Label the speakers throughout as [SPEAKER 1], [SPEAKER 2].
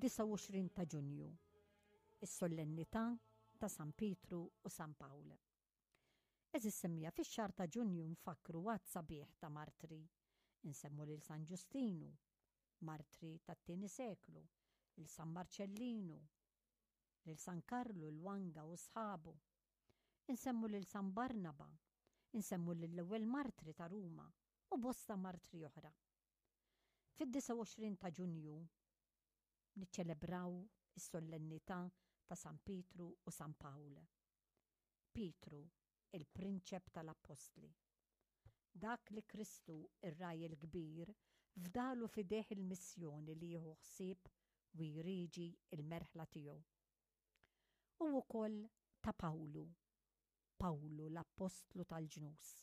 [SPEAKER 1] Id-29 ta' Ġunju, is-Solennità ta' San Pietru u San Pawl. Għeżież semmiegħa, fix-xahar ta' Ġunju nfakkru għadd sabiħ ta' martri. Insemmu lil San Ġustinu, martri tat-tieni seklu, lil San Marċellinu, lil San Karlu l-Wanga u sħabu. Insemmu lil San Barnaba, insemmu lill-ewwel martri ta' Ruma u bosta martri oħra. Fid-29 ta' Ġunju niċċelebraw is-sollennità ta' San Pietru u San Pawl. Pietru, il-prinċep tal-appostli. Dak li Kristu, ir-Ragħaj il-Kbir, fdalu f'idejh il-missjoni li jieħu ħsieb u jrieġi l-merħla tiegħu. U wkoll ta' Pawlu, Pawlu l-appostlu tal-ġnus.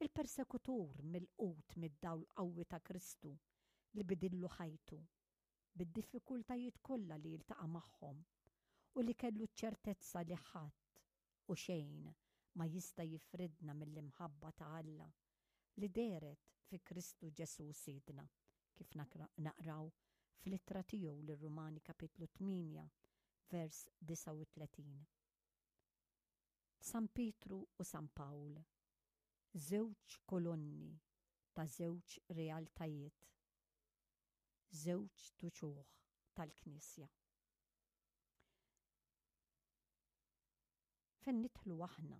[SPEAKER 1] Il-persekutur milqut mid-dawl qawwi ta' Kristu li bidillu ħajtu, bid-diffikultajiet kollha li jiltaqa' magħhom u li kellu ċ-ċertezza li ħadd u xejn ma jista' jifridna mill-imħabba ta' Alla li dehret fi Kristu Ġesù Sidna, kif naqraw fl-ittra tiegħu lir-Rumani kapitlu 8 vers 39. San Pietru u San Pawl, żewġ kolonni ta' żewġ realtajiet, żewġt uċuħ tal-Knisja. Fejn nidħlu aħna,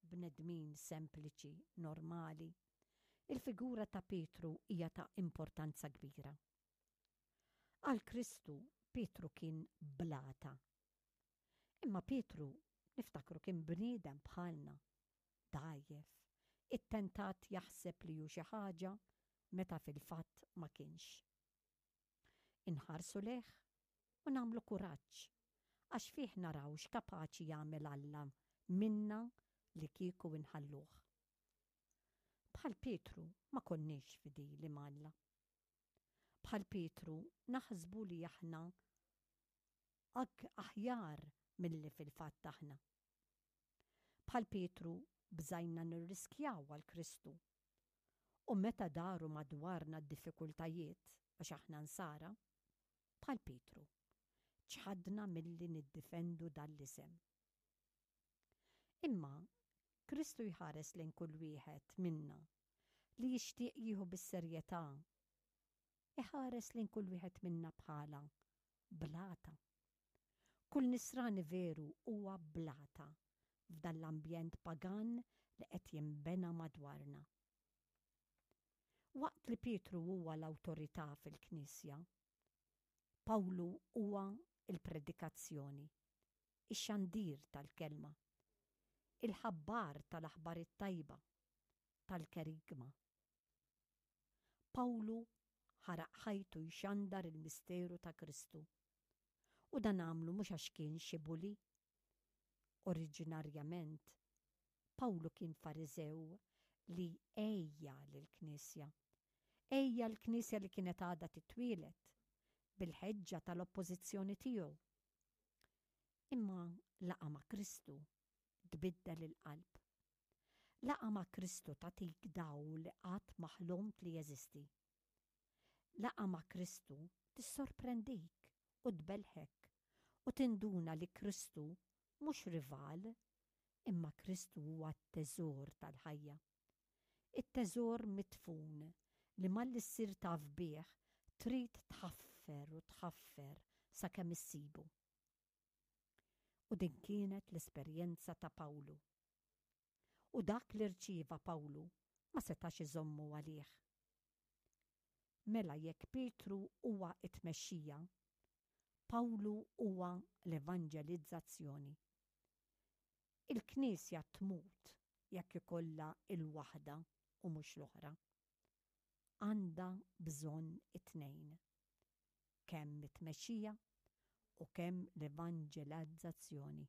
[SPEAKER 1] bnedmin sempliċi, normali, il-figura ta' Pietru hija ta' importanza kbira. Għal Kristu, Pietru kien blata. Imma Pietru, niftakru kien bniedem bħalna, dgħajjef, ittentat jaħseb li hu xi ħaġa meta fil-fatt ma kienx. Inħarsu lejh u nagħmlu kuraġġ għax fih naraw x'kapaċi jagħmel Alla minna li kieku inħalluh. Bħal Pietru ma konniex fidili m'Alla. Bħal Pietru naħsbu li aħna aħjar milli fil-fatt aħna. Bħal Pietru bżajna nirriskjaw għal Kristu. U meta daru madwarna d-diffikultajiet għax aħna nsara, bħal Pietru, ċħadna milli niddifendu dan l-isem. Imma Kristu jħares lejn kull wieħed minna li jixtieq jieħu bis-serjetà. Iħares lejn kull wieħed minna bħala blata. Kull nisrani veru huwa blata f'dan l-ambjent pagan li qed jinbena madwarna. Waqt li Pietru huwa l-awtorità fil-Knisja, Pawlu huwa l-predikazzjoni, ix-xandir tal-kelma, il-ħabbar tal-aħbar it-tajba, tal-kerigma. Pawlu ħaraq ħajtu jxandar il-misteru ta' Kristu. U dan għamlu mhux għax kien xi bully. Oriġinarjament, Pawlu kien Fariżew li għejja lill-Knisja. Għejja l-Knisja li kienet għadha titwieled, bil-ħeġġa tal-oppożizzjoni tiegħu. Imma laqgħa ma' Kristu tbiddel il-qalb. Laqgħa ma' Kristu tagħtik dawl li qatt ma ħlomt li jeżisti. Laqgħa ma' Kristu tissorprendik u tbellħek u tinduna li Kristu mhux rival imma Kristu huwa t-teżor tal-ħajja. It-teżor midfun li malli ssir taf bih trid tħaffer u tħaffer sakemm issibu. U din kienet l-esperjenza ta' Pawlu. U dak li rċieva Pawlu ma setax iżommu għalih. Mela jekk Pietru huwa t-tmexxija, Pawlu huwa l-evanġelizzazzjoni. Il-Knisja tmut jekk ikollha l-waħda u mhux l-oħra. Għandha bżonn it-tnejn. Kemm it-tmexxija u kemm l-evanġelizzazzjoni.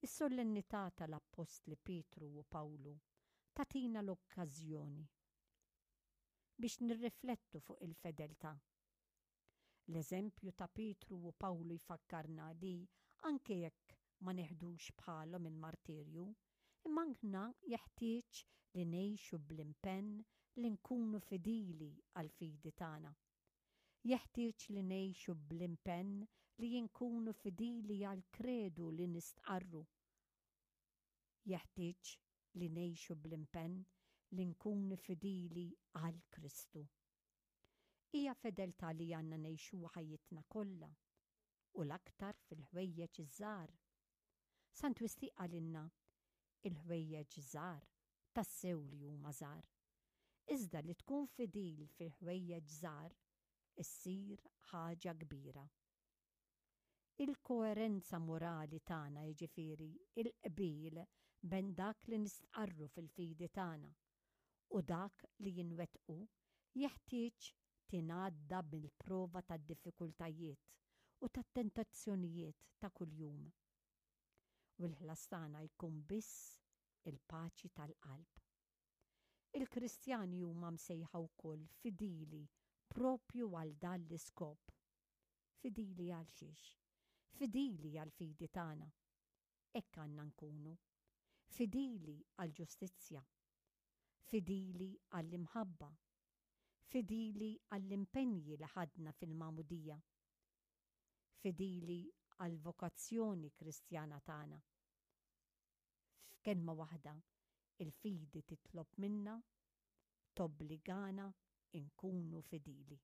[SPEAKER 1] Is-solennità tal-Appostli Pietru u Pawlu tagħtina l-okkażjoni biex nirriflettu fuq il-fedeltà. L-eżempju ta' Pietru u Pawlu jfakkarna li anke jekk ma neħdux bħalhom il-martirju, imma aħna jeħtieġ li ngħixu bl-impenn li nkunu fidili għall-fidi tagħna. Jeħtieġ li ngħixu bl-impenn li nkunu fidili għall-kredu li nistqarru. Jeħtieġ li ngħixu bl-impenn li nkunu fidili għal Kristu. Hija fedeltà li għandna ngħixuha ħajjitna kollha, u l-aktar fil-ħwejjeġ iż-żgħar. Sant Wistin qalilna, Il-ħwejjeġ żgħar tassew li huma żgħar. Iżda li tkun fidil fil-ħwejjeġ żgħar issir ħaġa kbira. Il-koerenza morali tagħna, jiġifieri l-qbil bejn dak li nistqarru fil-fidi tagħna u dak li nwettqu, jeħtieġ tingħadda mill-prova tad-diffikultajiet u tat-tentazzjonijiet ta' kuljum. U l-ħlas tagħna jkun biss il-paċi tal-qalb. Il-Kristjani huma msejħa wkoll fidili proprju għal dan l-iskop. Fidili għal xiex? Fidili għall-fidi tagħna. Hekk għandna nkunu. Fidili għall-ġustizzja. Fidili għall-imħabba. Fidili għall-impenji li ħadna fil-magħmudija. Fidili għall-vokazzjoni Kristjana tagħna. F'kelma waħda, il-fidi titlob minna, tobbligana nkunu fidili.